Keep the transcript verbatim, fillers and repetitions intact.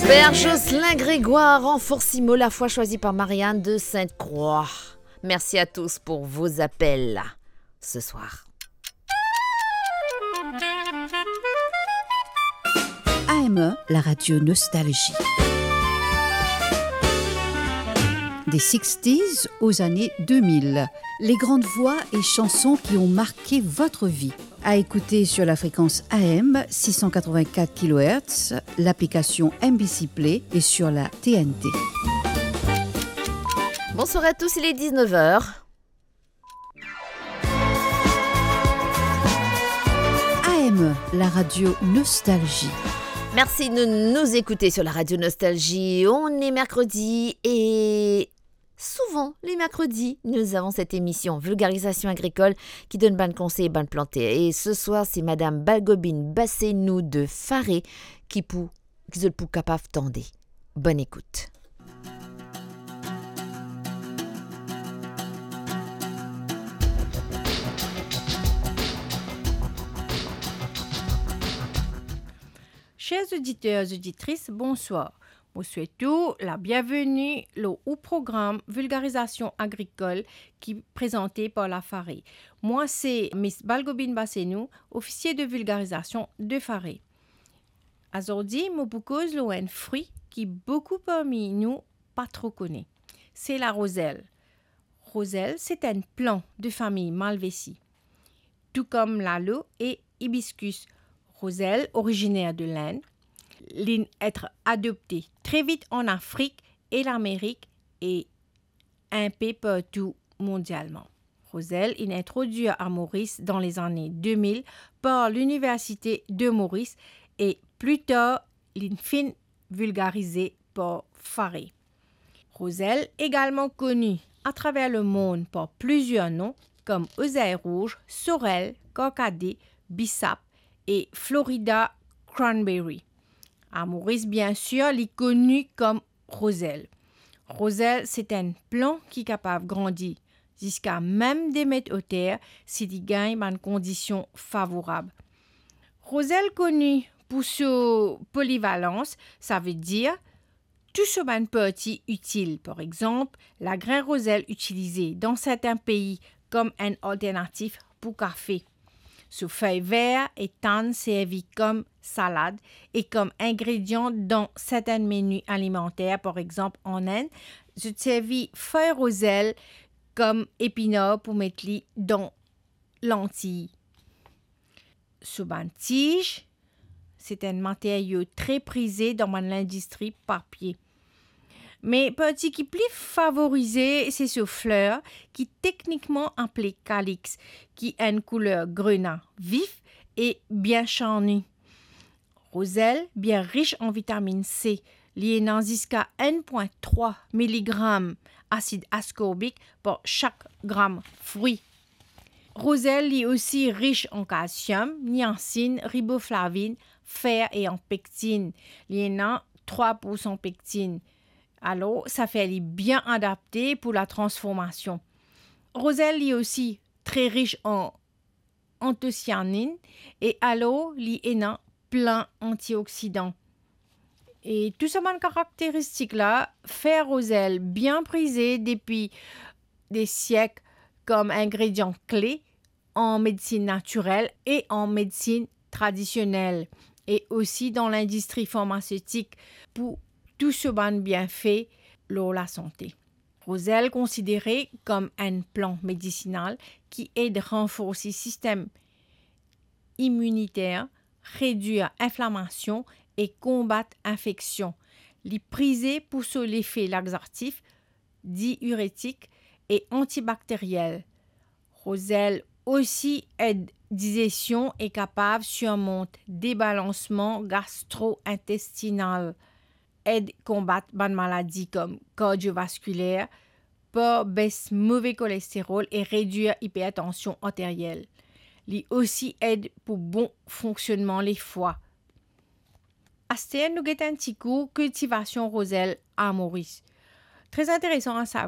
Père Jocelyn Grégoire en Forcimo, la foi choisie par Marianne de Sainte-Croix. Merci à tous pour vos appels ce soir. A M E, la radio nostalgie. Des sixties aux années deux mille. Les grandes voix et chansons qui ont marqué votre vie. À écouter sur la fréquence A M six cent quatre-vingt-quatre kilohertz, l'application M B C Play et sur la T N T. Bonsoir à tous, il est dix-neuf heures. A M E, la radio Nostalgie. Merci de nous écouter sur la radio Nostalgie. On est mercredi et souvent, les mercredis, nous avons cette émission Vulgarisation agricole qui donne bann konsey bann planter. Et ce soir, c'est Madame Balgobine Bassenou de Faré qui pou, ki zot pou kapav tande. Bonne écoute. Cher oditer, oditris, bonswar. Mo swet ou labienveni lor ou program Vulgarizasyon agrikol ki prezante par la Faré. Mwa se Miss Balgobine Bassenou, ofisie de vilgarizasion de Faré. Azordi, mo pou koz lor enn fri ki boukou parmi nou pa tro kone. Se larozel. Rozel, se enn plan de famiy Malvaceae, tou kom lalo e ibiskus. Rozel, originer de Lind, linn et adopte tre vit an Afrik e Lamerik e inpe partou mondialman. Rozel inn introdwir a Moris dan lezane de mil par Liniversite de Moris e pli tar linn finn vilgarize par Faré. Rozel egalman koni atraver lemond par plizier non, kom ozey rouz, sorel, karkade, bisap e Florida cranberry. A Moris, biensir, li koni kom rozel. Rozel, se enn plan ki kapav grandi ziska mem de met oter si li gagn bann kondision favorab. Rozel koni pou so polivalans, savedir tou so bann parti itil. Par exanp, lagrin rozel itilize dan sertin pei kom enn alternatif pou kafe. So fey ver e tann servi kom salad e kom ingredian dan sertin meni alimanter. Par exanp, an Ind, zot servi fey rozel kom epinar pou met li dan lantiy. So bann tiz, se enn materio tre prize dan bann lindistri papie. Me parti ki pli favorize, se so fler, ki teknikman apele kaliks, ki enn kouler grena vif e bien sarni. Rozel bien ris an vitaminn C, li ena ziska enn pwin trwa miligram asid askorbik par sak gram fri. Rozel, li osi ris an kalsiom, niasin, riboflavin, fer e an pektin. Li ena trwa poursan pektin. Alor, sa fer li bien adapte pou latransformasion. Rozel, li osi tre ris an antosianin e alor li ena plin antioksidan. E tou sa bann karakteristik la fer rozel bien prize depi de siek kom ingredian kle an medsin natirel e an medsin tradisionel, e osi dan lindistri farmasetik pou tou so bann bienfe lor lasante. Rozel konsidere kom enn plan medisinal ki ed ranforsi sistem iminiter, redwir inflamasion e konbat infeksion. Li prize pou so lefe laxatif, diiretik e antibakteriel. Rozel osi ed dizesion e kapav sirmont debalansman gastro-intestinal, ed konbat bann maladi kom kardiovaskiler, par bes move kolesterol e redwir ipertansion arteriel. Li osi ed pou bon fonksionnman lefwa. Aster nou get enn ti kou kiltivasion rozel a Moris. Tre interesan a sa-,